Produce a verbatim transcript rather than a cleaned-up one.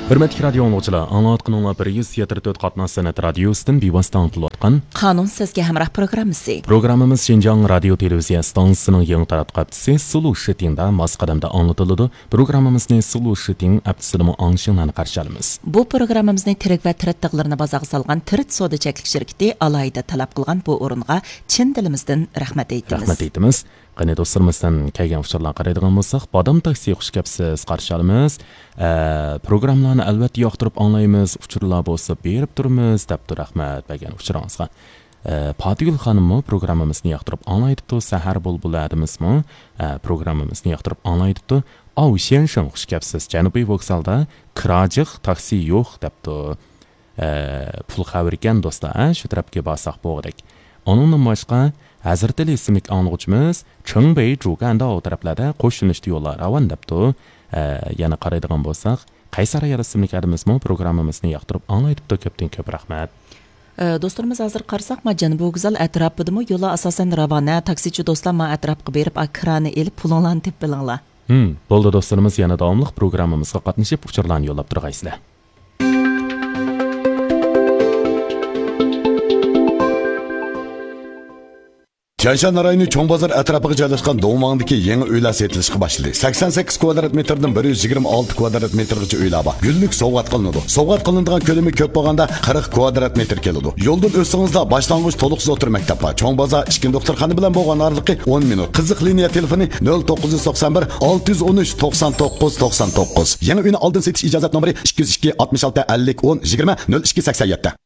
ھۆرمەتلىك رادىيو ئاڭلىغۇچىلار، ئاڭلاۋاتقىنىڭلار بىر يۈز يەتتە تۆت قاتناش سەنئەت رادىيوسىدىن بىۋاسىتە ئاڭلىتىلىۋاتقان قانۇن سىزگە ھەمراھ پروگراممىسى. پروگراممىمىز شىنجاڭ رادىيو تېلېۋىزىيە ئىستانسىسىنىڭ يېڭى تاراتقۇ ھەپتىسى سۇلۇ شىتىڭدا ماس قەدەمدە ئاڭلىتىلىدۇ. پروگراممىمىزنى سۇلۇ شىتىڭ ھەپتىسىدىمۇ ئاڭشىڭلارنى قارشى ئالىمىز. بۇ پروگراممىمىزنى تىرىك ۋە تىرىت تاغلىرىنى بازارغا سالغان تىرىت سودا چەكلىك شىركىتى ئالاھىدە تەلەپ قىلغان بۇ ئورۇنغا چىن دىلىمىزدىن رەھمەت ئېيتىمىز. رەھمەت ئېيتىمىز. قېنى دوستلىرىمىزدىن كەلگەن ئۇچۇرلارغا قارايدىغان بولساق، بادام تاكسى، خۇش كەپسىز، قارشى ئالىمىز. ئە، پروگراممىلارنى ئەلۋەتتە ياقتۇرۇپ ئاڭلايمىز، ئۇچۇرلار بولسا بېرىپ تۇرىمىز، دەپتۇ. رەھمەت بەرگەن ئۇچۇرىڭىزغا. ئە، پاتىگۈل خانىممۇ پروگراممىمىزنى ياقتۇرۇپ ئاڭلايدىپتۇ. سەھەر بۇلبۇلى ئادىمىزمۇ، ئە، پروگراممىمىزنى ياقتۇرۇپ ئاڭلايدىپتۇ. ئاۋ شيەنشېڭ، خۇش كەپسىز، جەنۇبىي ۋوگزالدا كىرا جىق، تاكسى يوق، دەپتۇ. ئە، پۇل خەۋىرى ئىكەن دوستلار، ئە، شۇ تەرەپكە بارساق بولغۇدەك. ئۇنىڭدىن باشقا، ھەزرىتى ئىسىملىك ئاڭلىغۇچىمىز چېڭبېي، جۇگەنداۋ تەرەپلەردە قوش يۆنىلىشتە يوللار راۋان، دەپتۇ. ئە، يەنە قارايدىغان بولساق، قەيسەر ئايال ئىسىملىك ئادىمىزمۇ پروگراممىمىزنى ياقتۇرۇپ ئاڭلايدىپتۇ. كۆپتىن كۆپ رەھمەت. ئە، دوستلىرىمىز، ھازىر قارىساق، ما جەنۇبىي ۋوگزال ئەتراپىدىمۇ يوللار ئاساسەن راۋان. ھە، تاكسىچى دوستلار ما ئەتراپقا بېرىپ، ئا، كىرانى ئېلىپ، پۇلۇڭلارنى تېپىپ بېرىڭلار. ھىم، بولدى دوستلىرىمىز، يەنە داۋاملىق پروگراممىمىزغا قاتنىشىپ، ئۇچۇرلارنى يوللاپ تۇرغايسىلەر. تيەنشان رايونى چوڭ بازار ئەتراپىغا جايلاشقان دوڭماڭدىكى يېڭى ئۆيلەر سېتىلىشقا باشلىدى. سەكسەن سەككىز كۋادرات مېتىردىن بىر يۈز يىگىرمە ئالتە كۋادرات مېتىرغىچە ئۆيلەر بار. گۈللۈك سوۋغات قىلىنىدۇ. سوۋغات قىلىنىدىغان كۆلىمى كۆپ بولغاندا قىرىق كۋادرات مېتىر كېلىدۇ. يولدىن ئۆتسىڭىزلا باشلانغۇچ تولۇقسىز ئوتتۇرا مەكتەپ بار. چوڭ بازار ئىككىنچى دوختۇرخانا بىلەن بولغان ئارىلىقى ئون مىنۇت. قىزىق لىنىيە تېلېفونى نۆل توققۇز يۈز توقسان بىر، ئالتە يۈز ئون ئۈچ، توقسان توققۇز، توقسان توققۇز. يېڭى ئۆينى ئالدىن سېتىش ئىجازەت نومۇرى ئىككى يۈز ئىككى، ئاتمىش ئالتە، ئەللىك، ئون، يىگىرمە، نۆل ئىككى، سەكسەن يەتتە.